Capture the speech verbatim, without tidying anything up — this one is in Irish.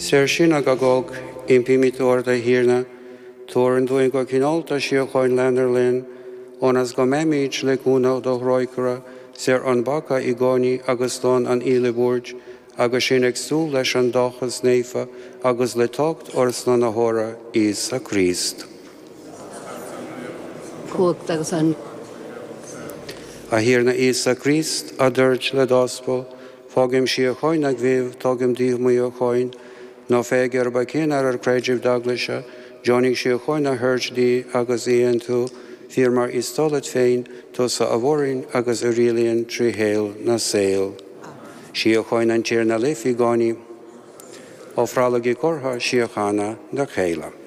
Saor sinn ag agóg, impímid ort, a Thiarna, tabhair dúinn go cineálta síocháin lenár linn, ionas go mbeimid le cúnamh do thrócaire, saor ón bpeaca i gcónaí agus slán ón uile bhuairt, agus sinn ag súil leis an dóchas naofa agus le teacht ár Slánaitheora Íosa Críost. Cumhacht agus an A Thiarna Íosa Críost, a dúirt le d'aspail, Fágaim síocháin agaibh, tugaim daoibh mo shíocháin, ná féach ar bhacín ar ar creideamh d'eaglaise, deonaigh síocháin a thabhairt di agus í a aontú, fíor mar is toil leat féin, tusa a mhaireann agus a rialaíonn trí shaol na saol. Síocháin an Tiarna libh i gcónaí. Ofrálaigí comhartha síochána dá chéile.